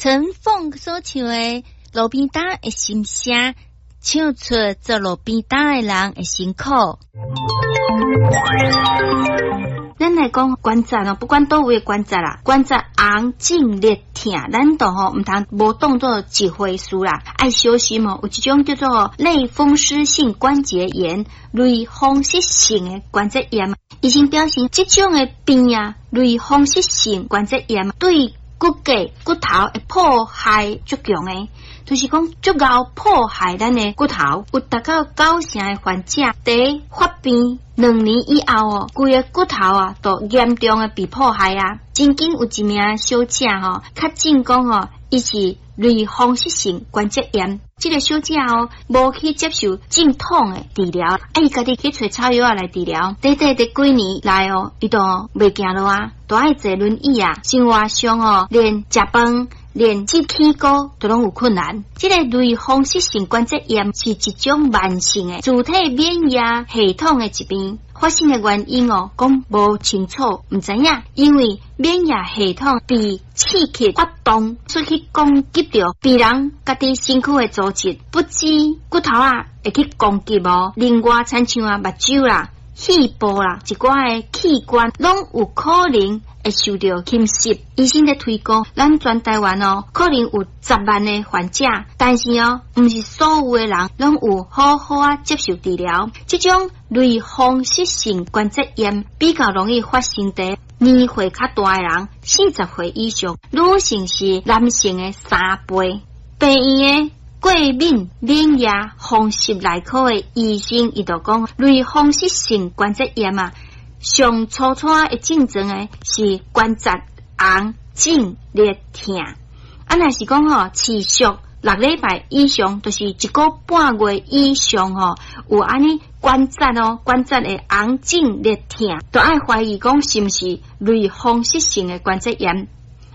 陳鳳所唱的《路邊擔的心聲》，唱出做路邊擔的人的辛苦。咱來講關節哦，不管佗位的關節啦，關節紅、腫、熱、疼，咱都吼毋通無當做一回事啦，愛小心哦。有一種叫做類風濕性關節炎、類風濕性的關節炎，醫生表示，這種的病啊，類風濕性關節炎對骨骼、骨頭會破壞足強的，就是講足𠢕破壞咱的骨頭。有達到九成的患者，佇發病2年以後哦，規个骨頭啊，都嚴重的被破壞啊。曾經有一名小姐吼，確診講吼，伊是類風濕性關節炎。這個小姐哦，無去接受正統的治療，啊，伊家己去揣草藥仔來治療。短短的幾年來哦，伊都袂行路啊，都愛坐輪椅啊，生活上哦，連食飯、連摺起膏都攏有困難。這個類風濕性關節炎是一種慢性的自體免疫系統的疾病。發生的原因哦，講無清楚，毋知影，因為免疫系統被刺激發動，出去攻擊著別人家己身軀的組織，不止骨頭仔會去攻擊哦，另外親像啊目睭啦、肺部啦，一寡的器官攏有可能會受著侵襲。醫生咧推估，咱全台灣哦，可能有10萬的患者，但是哦，毋是所有的人攏有好好啊接受治療。這種類風濕性關節炎比較容易發生佇年歲較大的人，40歲以上，女性是男性的3倍。病院的過敏免疫風濕內科的醫生，伊就講，類風濕性關節炎啊，上初初的症狀的是關節紅、腫、熱、疼。啊，若是講吼持續6禮拜以上，就是一個半月以上吼，有按呢關節哦，關節的紅腫熱疼，都愛懷疑講是毋是類風濕性的關節炎，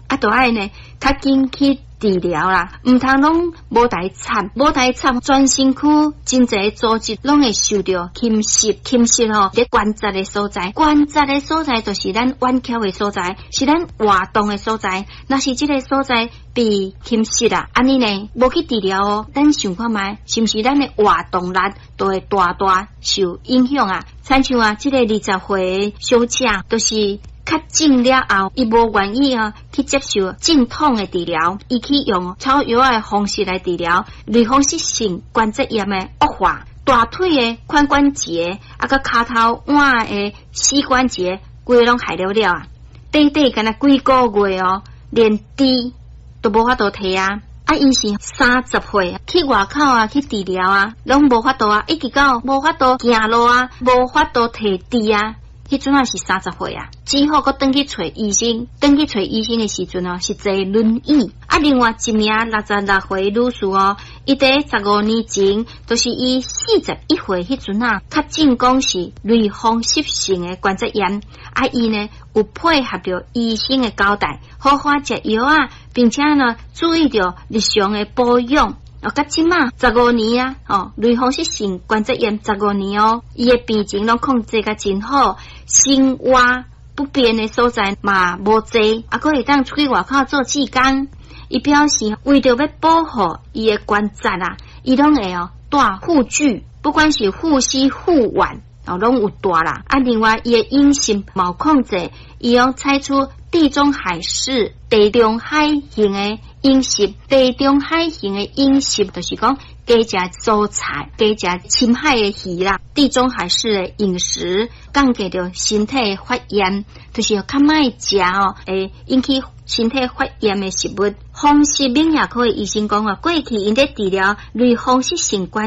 啊，都愛呢較緊去治療啦，毋通攏無代插，無代插，全身軀真濟組織攏會受著侵襲，侵襲吼佇關節的所在，關節的所在就是咱彎曲的所在，是咱活動的所在。若是這个所在被侵襲啦，按呢呢無去治療哦，咱想看覓，是毋是咱的活動力都會大大受影響啊？親像啊，這个20歲的小姐，就是。確診了後，伊無願意啊去接受正統的治療，伊去用草藥的方式來治療類風濕性關節炎的惡化，大腿的髖關節啊，佮跤頭腕的膝關節，規个攏害了了啊！短短干焦幾個月哦，連豬都無法度提啊！啊，伊是30歲去外口啊去治療啊，攏無法度啊，一直到無法度行路啊，無法度提豬啊。彼陣仔是三十歲啊，只好閣轉去揣醫生，轉去揣醫生的時陣哦，是坐輪椅。啊，另外一名66歲女士哦，伊佇15年前，就是伊41歲彼陣啊，確診講是類風濕性的關節炎。啊，伊呢有配合著醫生的交代，好好食藥啊，並且呢注意著日常的保養。哦，到這馬十五年啊，哦，類風濕性關節炎十五年哦，伊的病情攏控制甲真好，生活不便的所在嘛無濟，啊，閣會當出去外口做志工。伊表示為著欲保護伊的關節啊，伊攏會哦帶護具，不管是護膝、護腕哦，攏有帶啦。啊，另外伊的飲食嘛有控制，伊攏採取地中海式、地中海型的飲食，地中海型的飲食就是講加食蔬菜，加食深海的魚啦。地中海式的飲食降低著身體的發炎，就是較莫食哦，會引起身體發炎的食物。風濕免疫科的醫生講啊，過去𪜶咧治療類風濕性關